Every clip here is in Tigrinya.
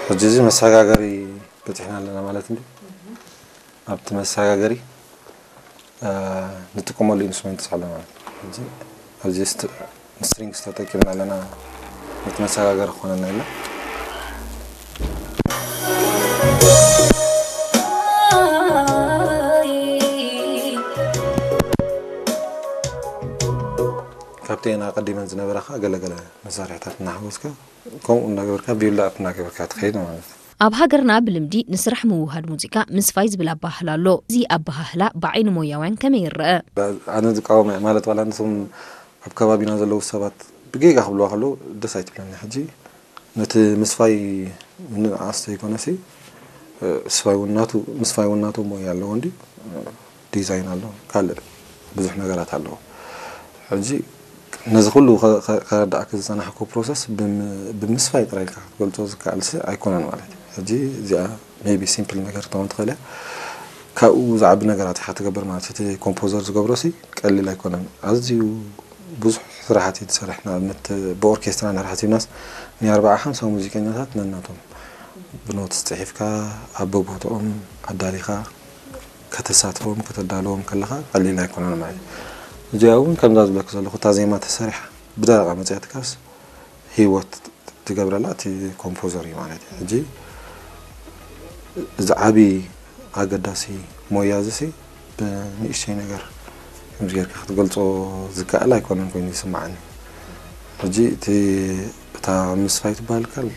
ሕጂ እዚ መሰጋገሪ በፂሕና ኣለና ማለት እንዲ ኣብቲ መሰጋገሪ ንጥቀመሉ ኢንስትሩመንት ኣሎ ማለት ሕጂ ኣብዚ ስትሪንግስ ተጠቂምና ኣለና። ነቲ መሰጋገሪ ክኾነና ኢልና ካብቲ ኣቐዲመን ዝነበራ ከዓ ገለገለ መሳርሕታት እናሓወስካ ከምኡ እናገበርካ ቢውልድ ኣፕ እናገበርካ ትኸይድ ማለት እዩ። ኣብ ሃገርና ብልምዲ ንስራሕ ምውህሃድ ሙዚቃ ምስፋይ ዝብል ኣበሃህላ ኣሎ። እዚ ኣበሃህላ ብዓይኒ ሞያውያን ከመይ ይረኣ? ኣነ ዝቃወም እየ ማለት ዋላ ንሶም ኣብ ከባቢና ዘለዉ ሰባት ብጌጋ ክብልዋ ከለዉ ደስ ኣይትብለኒ። ሕጂ ነቲ ምስፋይ ምንንዓስ ዘይኮነሲ ምስፋይ እውን ናቱ ምስፋይ እውን ናቱ ሞያ ኣለዎ እንዲ ዲዛይን ኣሎ ካልእ ብዙሕ ነገራት ኣለዎ። ሕጂ ነዚ ኩሉ ከረዳእክ ዝፀናሕኩ ፕሮሰስ ብምስፋይ ጥራይ ኢልካ ክትገልፆ ዝከኣልሲ ኣይኮነን ማለት እዩ። ሕጂ እዚኣ maybe simple ነገር ትኸውን ትኽእል እያ። ካብኡ ዝዓቢ ነገራት ኢኻ ትገብር ማለት እቲ ኮምፖዘር ዝገብሮ ሲ ቀሊል ኣይኮነን። ኣዝዩ ብዙሕ ስራሓት እዩ ዝሰርሕ። ንኣብነት ብኦርኬስትራ እንድሕር ሓሲብናስ ናይ ኣርብዓ ሓምሳ ሙዚቀኛታት ነናቶም ብኖትስ ፅሒፍካ ኣብ በቦትኦም ኣዳሊኻ ከተሳትፎም ከተዳልዎም ከለኻ ቀሊል ኣይኮነን ማለት እዩ። እዚኣ እውን ከምዛ ዝብለክ ዘለኹ እታ ዜማ ተሰሪሓ ብደረቓ መፅያትካስ ህይወት ትገብረላ እቲ ኮምፖዘር እዩ ማለት እዩ። ሕጂ እዚ ዓቢ ኣገዳሲ ሞያ እዚ ሲ ብንእሽተይ ነገር ከምዚ ጌርካ ክትገልጾ ዝከኣል ኣይኮነን ኮይኑ ይስምዓኒ። ሕጂ እቲ እታ ምስፋይ ትበሃል ካል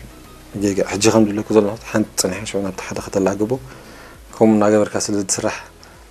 ጌጋ ሕጂ ከም ዝብለኩ ዘሎ ሓንቲ ጽኒሓ ሽዑ ናብቲ ሓደ ከተላግቦ ከምኡ እናገበርካ ስለ ዝስራሕ